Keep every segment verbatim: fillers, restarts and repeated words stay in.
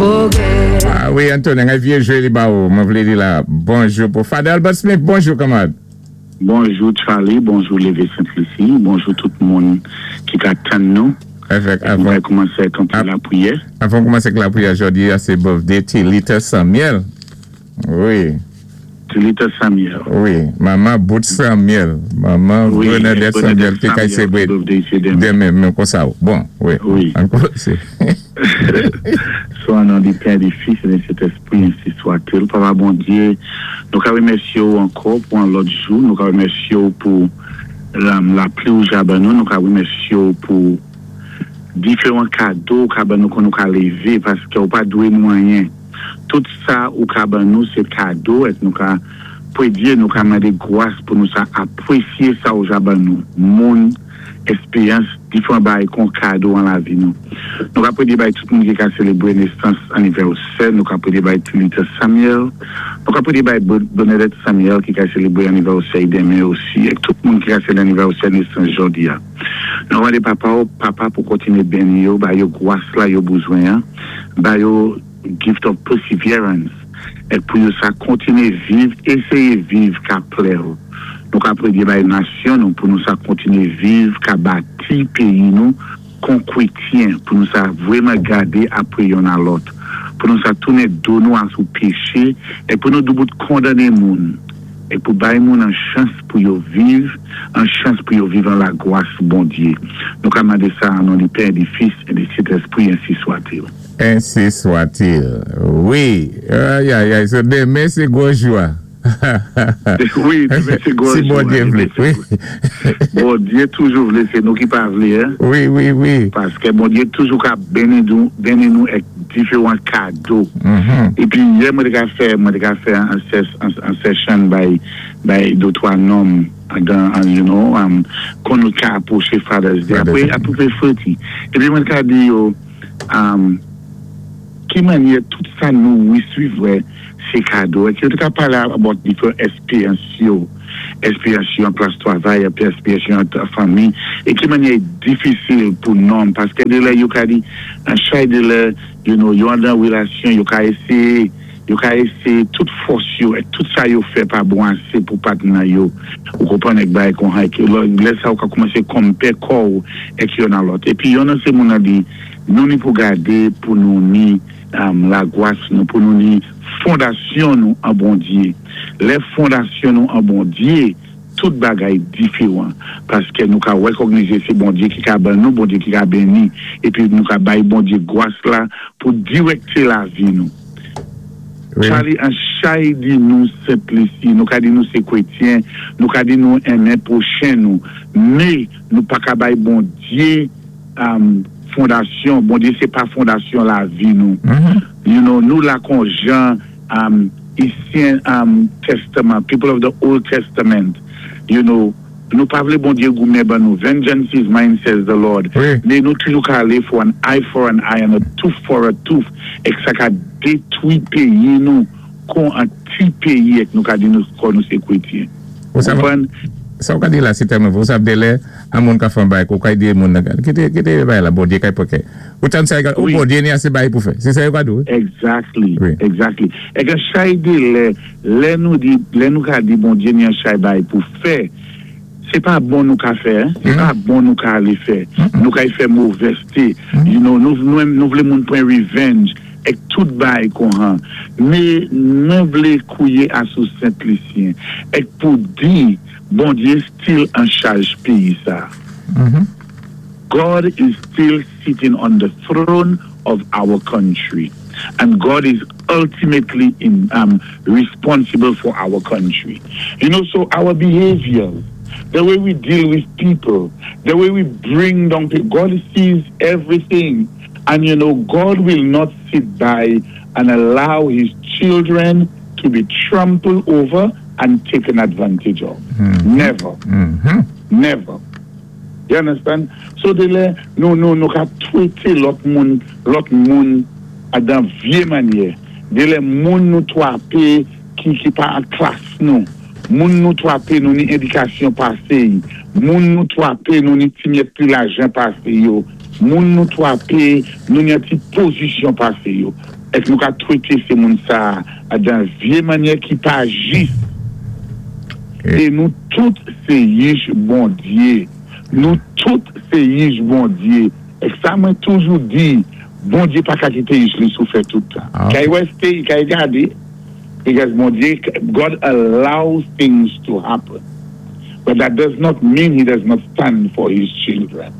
Forget. Ah wi, Anthony, yon vyé jwé li ba ou. Mwen vlé di la bonjou pou Father Albert Smith, bonjou kanmarad. Bonjou Charlie, bonjou Lévé Sainte-Lucie, bonjou tout moun ki ka tann nou. Avèk, Nou avan, va koumansé ak yon lapriyè. Avan koumansé lapriyè jòdi a, sé birthday Tilita Samuel. Wi, Tilita Samuel. Wi, manman Bout Samuel, manman Wi, Bernadette Samuel, ki kay Samuel, sélébré birthday sé denmen. Denmen, menm kon sa. Bon, wi. Wi. Ankò, sé. So, an non di Pè, di Fis, é di Sentèspwi, ensi swa-t-il. Papa Bondyé, nou ka wémèsyé ou ankò pou an lòt jou, nou ka wémèsyé ou pou la, lapli ou ja ban nou, nou ka wémèsyé ou pou diferan kado ou ka ban nou kon nou ka lévé, paské ou pa dwé nou anyen. Tout sa ou ka ban nou, sé kado, é nou ka pwédyé, nou ka mandé gwas pou nou sa apwésyé sa ou ja ban nou. Moun, èksperyans, diferan bagay kon kado an lavi nou. Nou ka pwédyé bay tout moun ki ka sélébré nésans anivèsè, nou ka pwédyé bay Tilita Samuel, nou ka pwédyé bay Bernadette Samuel ki ka sélébré anivèsè denmen osi, é tout moun ki ka sélébré anivèsè nésans jòdi a. Nou mandé papa ou, papa pou kontiné béni yo, ba yo gwas la yo bezwen, en, ba yo gift of perseverance, é pou yo sa kontiné viv, éséyé viv ka plè ou. Nou ka pwédyé bay nasyon nou pou nou sa kontiné viv ka bati péyi nou kon kwétyen, pou nou sa vwèman gadé apwé youn a lòt, pou nou sa tounen do nou asou péché, é pou nou doubout kondané moun, é pou bay moun an chans pou yo viv, an chans pou yo viv an lagwas Bondyé. Nou ka mandé sa an non di Pè, di Fis, é di Sentèspwi, ensi swa-t-il. Ensi swa-t-il. Wi. Ay, ay, ay, so denmen sé gwo jou a. Wi, denmen sé gwo Si jou. Bondyé vlé, wi. Bondyé toujou vlé, sé nou ki pa vlé, en? Wi, wi, wi. Paské Bondyé toujou ka béni nou, béni nou ak diferan kado. Mhm. Épi yè mwen té ka fè, mwen té ka fè an, ses, an, an session bay, bay de twa nonm dan, an, you know, um, kon nou ka apwoché Father's Day. Father's Apwé, Day. Apwé freti. Épi mwen ka di yo, um, ki mannyè tout sa nou wésévwé, sé kado. É ki yo té ka palé about diferan èksperyans yo, èksperyans yo an plas twavay, épi èksperyans yo an fanmi, é ki mannyè difisil pou nonm, paské de lè yo ka di, an chay de lè, you know, yo an dan wélasyon, yo ka éséyé, yo ka éséyé tout fòs yo, é tout sa yo fè pa bon asé pou patnè yo, ou konpwann èk bay kon hay, ki lè lè sa ou ka koumansé konpé kò ou, èk youn a lòt. Épi youn nan sé moun an di, nou ni pou gadé, pou nou ni um, lagwas nou, pou nou ni fondasyon nou an Bondyé. Lè fondasyon nou an Bondyé, tout bagay diferan. Paské nou ka wékognizé sé Bondyé ki ka ban nou, Bondyé ki ka béni, épi nou ka bay Bondyé gwas la pou direkté lavi nou. Wi. Charlie, an chay di nou Sent Lisi, nou ka di nou sé kwétyen, nou ka di nou enmen pwochen nou, mé nou pa ka bay Bondyé um, fondasyon, Bondyé sé pa fondasyon lavi nou. Mhm. You know, nou la kon jan um, Ansyen um, Testament, people of the Old Testament, you know, nou pa vlé Bondyé goumen ban nou. "Vengeance is mine, says the Lord." Wi. Mé nou toujou ka alé for an eye for an eye and a tooth for a tooth, é sa ka détwi péyi nou kon an ti péyi èk nou ka di nou kon nou sé kwétyen. Ou sa, Konpwann? Sa ou ka di la, sé tèlman, ou sav de lè, an moun ka fè an bay, kou kay di moun nan, kité, kité bay la, Bondyé kay poké. Ou tan sa, ou Wi. Bondyé ni asé bay pou fè. Sé sa yo ka dou? Exactly, Wi. exactly. É ke chay di lè, lè nou di, lè nou ka di Bondyé ni an chay bay pou fè, sé pa bon nou ka fè, en? Sé pa bon nou ka alé fè. Nou ka y fè movèzté. You know, nou, nou, nou vlé moun pwan revenge èk tout bay kon han. Mé mwen vlé kouwiyé asou Sent Lisyen. Èk pou di, Bondyé still an chaj péyi sa. Mhm. God is still sitting on the throne of our country. And God is ultimately in, um, responsible for our country. You know, so our behavior, the way we deal with people, the way we bring down people, God sees everything. And you know, God will not sit by and allow his children to be trampled over and taken advantage of. Never. Mhm. Never. You understand? So de lè, nou, nou, nou ka twété lòt moun, lòt moun a dan vyé mannyè. De lè moun nou twapé ki, ki pa an klas nou. Moun nou twapé nou ni édikasyon pasé. Moun nou twapé nou ni ti myèt pli lajan pasé yo. Moun nou twapé, nou ni an ti pozisyon pasé yo. Èk nou ka twété sé moun sa dan vyé mannyè ki pa jis. É nou tout sé yich Bondyé. Nou tout sé yich Bondyé. Èk sa mwen toujou di, Bondyé pa ka kité yich li soufè tout tan. Kay wèsté, kay gadé, because Bondyé, God allows things to happen. But that does not mean he does not stand for his children.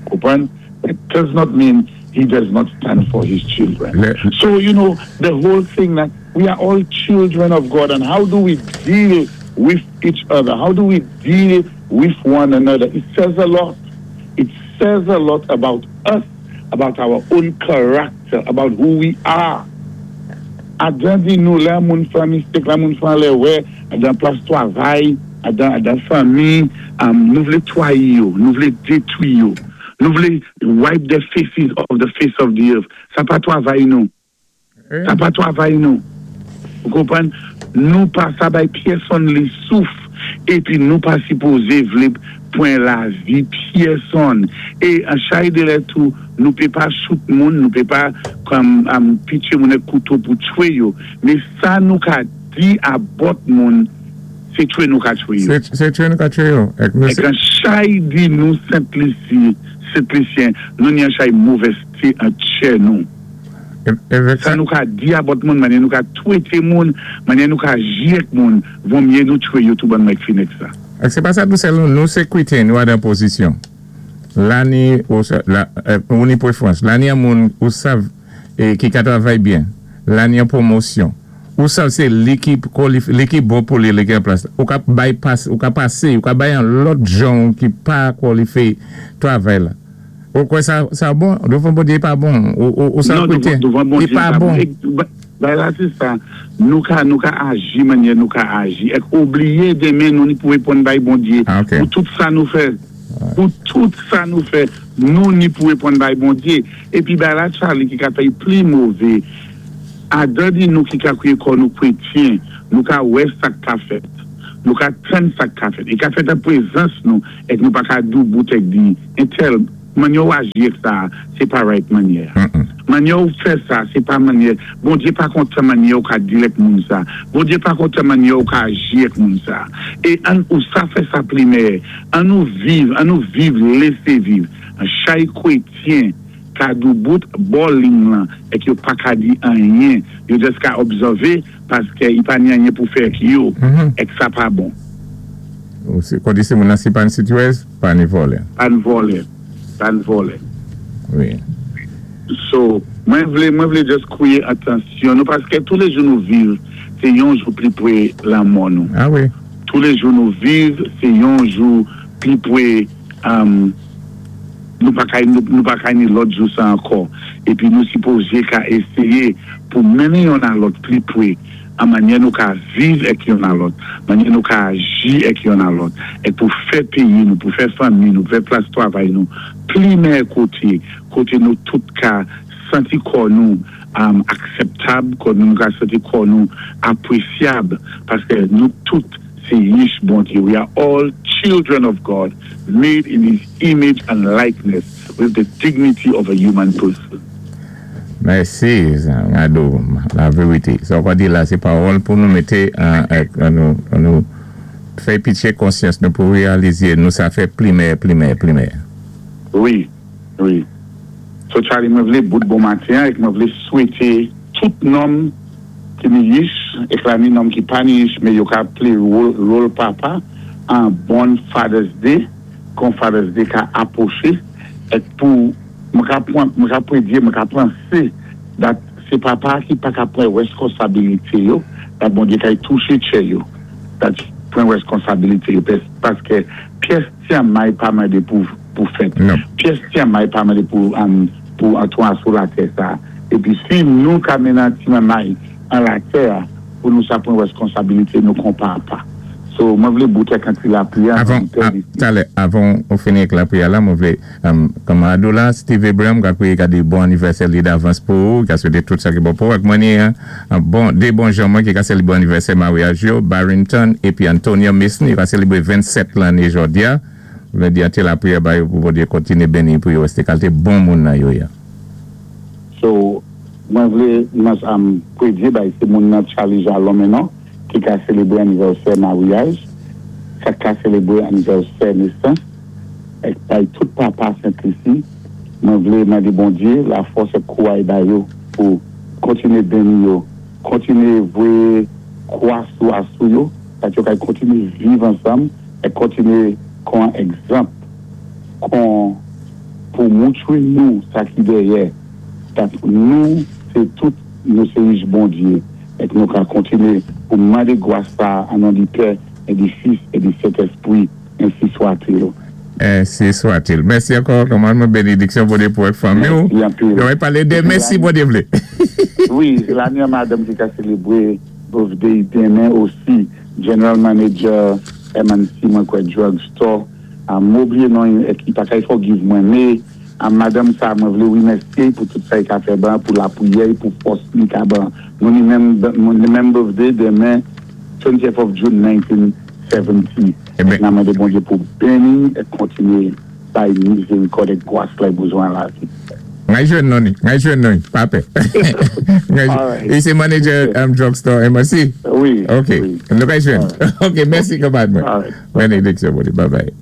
Konpwann? That does not mean he does not stand for his children. So, you know, the whole thing that we are all children of God, and how do we deal with each other? How do we deal with one another? It says a lot. It says a lot about us, about our own character, about who we are. Adan di nou lè moun fè mistake, lè moun fè lèwè, adan plas twavay, adan, adan fanmi, nou vlé twayi yo, nou vlé détwi yo, nou vlé wipe the faces of the face of the earth. Sa pa twavay nou. Sa pa twavay nou. Ou konpwann? Nou pa sa bay pyèsonn li souf, épi nou pa sipozé vlé pwan lavi pyèsonn. É an chay de lè tou, nou pé pa shoot moun, nou pé pa kòm um, pitché moun èk kouto pou tchwé yo. Men sa nou ka di a bòt moun, sé tchwé nou ka tchwé yo. Sé tchwé nou ka tchwé yo. Èk an chay di nou Sentlisi, Sentlisyen, nou ni an chay movèzté an tchè nou. Sa nou ka di a bòt moun, mannyè nou ka twété moun, mannyè nou ka aji èk moun, von myé nou tchwé yo tou ban mèk fin èk sa. Èk sé pa sa tou sèl nou, nou sé kwétyen, nou adan pozisyon. La ni, ou ni pwéfwans, la ni an moun ou sav ki ka travay byen, la ni an pwomosyon, ou sav sé li ki li ki bon pou li, li ki an plas. Ou ka bypass, ou ka pasé, ou ka bay an lòt jan ki pa kwalifyé travay la. Ou kwè sa, sa bon? Douvan Bondyé pa bon. Ou, ou sa kwétyen? Douvan Bondyé I pa bon. Bay la sé sa, nou ka, nou ka aji mannyè nou ka aji. Èk oubliyé démen nou ni pou wéponn bay Bondyé. Ah, ok. Pou tout sa nou fè, pou tout sa nou fè, nou ni pou wéponn bay Bondyé. Épi bay la Charlie ki ka fè'y pli mové, adan di nou ki ka kwiyé kò nou kwétyen, nou ka wè sa ka fèt. Nou ka tann sa ka fèt. I ka fèt an pwézans nou, èk nou pa ka doubout èk di, entèl, mannyè ou aji èk sa, sé pa right mannyè. Mannyè ou fè sa, sé pa mannyè. Bondyé pa kontan mannyè ou ka deal èk moun sa. Bondyé pa kontan mannyè ou ka aji èk moun sa. É an ou sa fè sa plimè, an nou viv, an nou viv, lésé viv. An chay kwétyen, ka doubout bò ling lan, èk yo pa ka di anyen, yo jis ka obsèvé, paské i pa ni anyen pou fè èk yo, èk sa pa bon. Ou si, kon di sé moun nan si pa ni sitwèz, pa ni vòlè. Pa ni vòlè. Pa ni vòlè. Wi. So, mwen vlé, mwen vlé just kwiyé atansyon nou, paské tou lé jou nou viv, sé yon jou pli pwé lanmò nou. Ah wi. Tou lé jou nou viv, sé yon jou pli pwé um, nou pa kay, nou, nou pa kay ni lòt jou sa ankò. Épi nou sipozé ka éséyé pou mennen yon a lòt pli pwé an mannyè nou ka viv èk yon a lòt, mannyè nou ka aji èk yon a lòt, èk pou fè péyi nou, pou fè fanmi nou, pou fè plas twavay nou, pli mèyè koté, koté nou tout ka santi kò nou um, akseptab, kò nou ka santi kò nou apwésyab, paské nou tout sé yich Bondyé. We are all children of God, made in his image and likeness, with the dignity of a human person. Mèsi, Ado, la vérité. Sa ou di la, sé pawòl pou nou mété an, an nou, an nou fè pitché konsyans nou pou wéyalizé nou sa fè pli mèyè, pli mèyè, pli mèyè. Wi, wi. So Charlie, mwen vlé bout bon maten èk mwen vlé swété tout nonm ki ni yich, èk la ni nonm ki pa ni yich, mé yo ka plé wòl, wòl papa an bon Father's Day, kon Father's Day ka apwoché, èk pou mwen ka pwan, mwen ka pwédyé, mwen ka pansé that sé papa ki pa ka pwan wèskonsabilité yo, that Bondyé kay touché tchè yo, that pwan wèskonsabilité yo, paské pyès ti may pa mandé pou, pou fèt. Non. Pyès ti may pa mandé pou, um, pou antwan sou latè sa. Épi si nou ka mennen ti may an latè, pou nou sa pwan wèskonsabilité nou kon papa. So, mwen vlé bout èk an ti lapriyè. Avan, talè, avan ou fini èk lapriyè la, mwen vlé, um, kòm Ado la, Steve Abraham, ka kwiyé ka di bon anivèsè li davans pou ou, ka swété tout sa ki bon pou ou, ak mwen ni, an bon, dé bon jan mwen ki ka sélibwé anivèsè maryaj yo, Barrington épi Antonio Mason, yo ka sélibwé vennsèt lanné jòdi a. Vlé di an ti lapriyè ba yo pou Bondyé kontiné béni pou yo wèsté kalité bon moun nan yo ya. So, mwen vlé mwen am pwédyé bay sé moun nan Charlie Jalon menon ki ka sélébré anivèsè maryaj, sa ka sélébré anivèsè nésans, èk bay tout papa Sent-Lisi, mwen vlé mandé Bondyé lafòs èk kouray ba yo pou kontiné béni yo, kontiné voyé kwa sou asou yo, pat yo kay kontiné viv ansanm, èk kontiné kon egzanp, kon pou moutwé nou sa ki dèyè, dat nou sé tout nou sé jij Bondyé èk nou ka kontiné pou mandé gwas sa an non di Pè é di Fis é di Sentèspwi, ensi swat-il. Ensi swat-il. Mèsi ankò, kòman mwen bénédiksyon Bondyé pou èk fanmi ou. Mèsi anpil. Yo wè palé de mèsi Bondyé vlé. Wi, la ni an madanm ki ka sélébré birthday denmen osi, general manager M and C mwen kwè drugstore, a m oubliyé non èk i pa kay forgive mwen, mé a madanm sa mwen vlé wimèsyé pou tout sa i ka fè ban, pou lapriyè, pou fòs li ka ban. Nou ni menm, nou ni menm birthday denmen, twentieth of June nineteen seventy. Eh ben. Nan mandé Bondyé pou béni é kontiné bay mizérikòd èk gwas la bezwen lavi. Ngay jwenn non ni, ngay jwenn non ni, pa pè. Ngay jwenn. Alright. É sé manager um, drugstore M and C? Wi. Ok, Wi. nou kay jwenn. Ok, mèsi kanmad mwen. Alright. Bénédiksyon Bondyé, bye bye.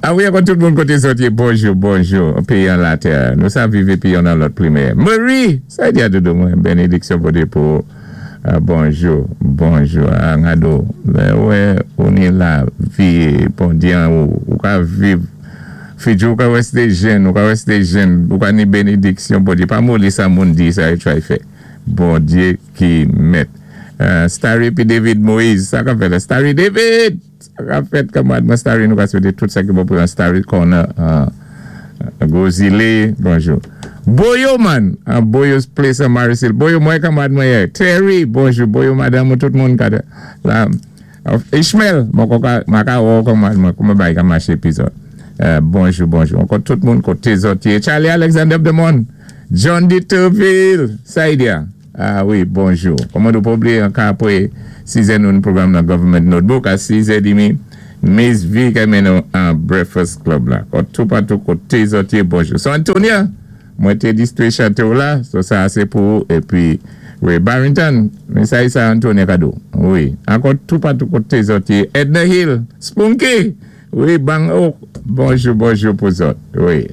A wi, ankò tout moun koté zòt yé, bonjou, bonjou, péyi an latè. Nou sa viv épi yon nan lòt primè. Marie, sa di a doudou mwen, bénédiksyon Bondyé pou uh, bonjou, bonjou, a ngado. Lè wè, ou ni la vi, Bondyé an ou, ou ka viv. Fidjou, ou ka wèsté jèn, ou ka wèsté jèn, ou ka ni bénédiksyon Bondyé. Pa moli sa moun di, sa yo try fè. Bondyé ki mèt. Uh, Starry pi David Moïse, sa ka fèt la. Starry David! Sa ka fèt kanmad mwen Starry, nou ka swété tout sa ki bon pou yon Starry Corner. Uh, Gozile, bonjou. Boyo man, uh, Boyo's Place an Marisil. Boyo mwen kanmad mwen yè. Terry, bonjou. Boyo madame, tout moun kade. La, uh, Ishmael, mwen kon ka, mwen ka wò kanmad mwen, kouman bay ka maché pi zòt. Uh, bonjou, bonjou. Ankò tout moun koté zòt yé. Charlie Alexander Demon, John D. Turville, Saidia. Ah wi, bonjou. Kòman nou pa oubliyé an ka apwé sizè nou pwogram nan Government Notebook a sizè edmi, Miss V ka men nou an Breakfast Club la. Kon tout patou koté zòt yé, bonjou. So Antonia, mwen té distwé chanté ou la, so sa sé pou épi wi, Barrington, men sa yi sa Antonia kado. Wi, ankò tout patou koté zòt yé. Edna Hill, Spunky, wi, Bang Oak, bonjou, bonjou pou zòt. Wi.